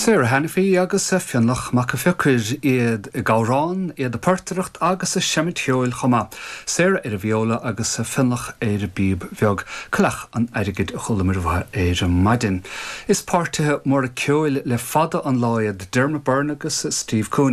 Sarah Hanniffy agus Fionnlach Mac a' Phiocair, iad ag amhrán, iad ag portaireacht agus ag seimint cheoil chomh maith. Sarah ar an vióla agus Fionnlach ar an bpíob bheag. Coileach an Airgid a chualamar uathu ar maidin. Is páirtithe móra ceoil le fada an lá iad Dermot Byrne agus Steve Cooney.